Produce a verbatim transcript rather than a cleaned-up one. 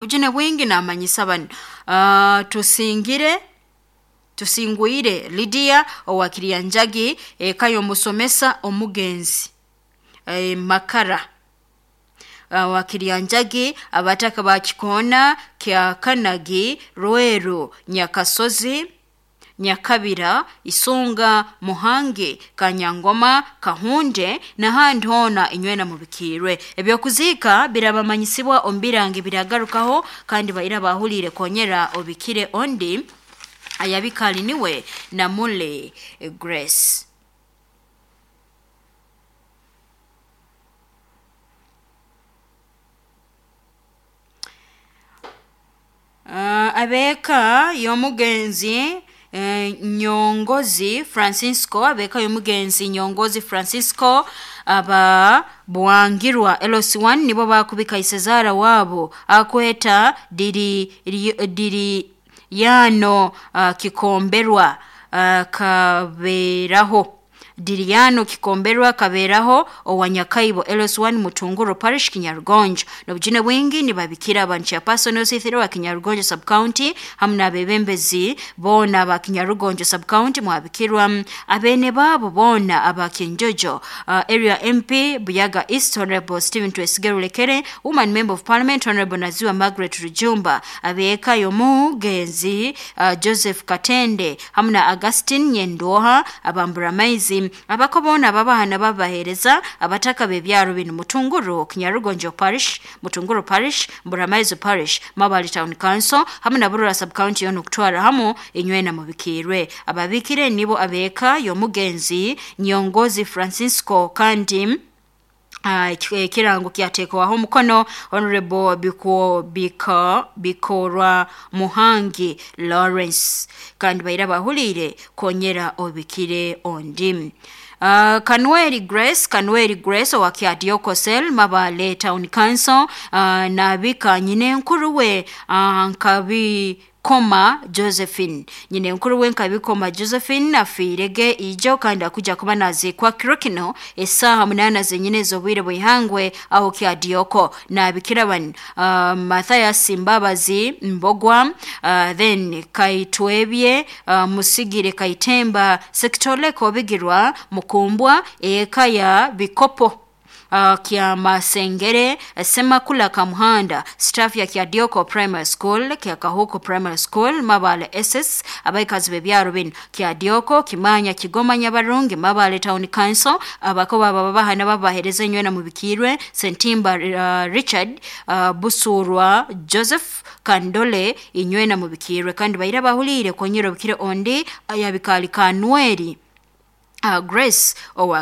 Obujune bwingi namanyisa banu uh, tusingire tusingwire Lydia owa Kiryanjagi eka y'omusomesa omugenzi e, Makara uh, wa Kiryanjagi, abataka ba Kikoona kya Kanagi, Rweru, Nyakasozi, Nyakabira, Isunga, Muhangi, Kanyangoma, Kahunde n'ahandi hoona inywena mubikirwe. Ebyokuziika birabamanyisibwa omu birangi biragarukaho, kandi baira bahuliire konyera obikire ondi ayabikali niwe Namule Grace. Uh, abeeka y'omugenzi eh, Nyongozi Francisco, abeeka y'omugenzi Nyongozi Francisco aba Bwangirwa L C one nibo bakubika isezara wabo akweta diri diri yano uh, kikomberwa uh, kaberaho Diriano Kikomberwa kaberaho owanyakaibo L S one Mutunguro Parish Kinyarugonjo. Nobujune bwingi nibabikira abantu chairperson osithiro wa Kinyarugonjo Sub County hamwe n'abebembezi bona ba Kinyarugonjo Sub County mwabikirwa abene babo bona aba Kinjojo uh, Area M P Buyaga East Honorable Stephen Twesige Rulekere, Woman Member of Parliament Honorable Naziwa Margaret Rujumba, abeka yomugenzi uh, Joseph Katende hamwe na Augustine Nyendoha abambura maizi abakobona babahana babahereza abataka bebyaro bino Mutunguru Kinyarugonjo Parish, Mutunguru Parish, Mburamaizi Parish, Mabali Town Council hamwe na Burura Sub County yono kutwara hamu inywena mubikirwe. Ababikire nibo abeka yomugenzi Nyongozi Francisco kandi Uh, kirango kyatekwaho omukono Honorable Biko Biko Bikorwa Muhangi Lawrence, kandi baira bahulire konyera obikire ondi. Uh, Kanweri Grace, Kanweri Grace owa Kyadioko Cell Mabale Town Council uh, nabika nyine nkuruwe uh, nkabi Koma Josephine, nyine nkuru we nkabikoma Josephine afirege ijo kandi akuja kuba nazikwa kirokino esaha munana zenyine zobwire bwihangwe aho Kyadioko nabikira ban uh, Mathias Mbabazi Mbogwa uh, then Kaitwebye uh, Musigire Kaitemba Sekitoleko Bigirwa Mukumbwa eka ya Bikopo Uh, kya Masengere Semakula Kamuhanda staff ya Kyadioko Primary School, kya Kahuko Primary School, Mabale S S abaikazi bebyaro bino Kyadioko, Kimanya, Kigoma, Nyabarungi, Mabale Town Council abakoba babahana babahereza inywena mubikirwe Sentimba uh, Richard uh, Busurwa Joseph Kandole inywena mubikirwe kandi baira bahulire konyero bikire ondi ayabikali Kanweri uh, Grace owa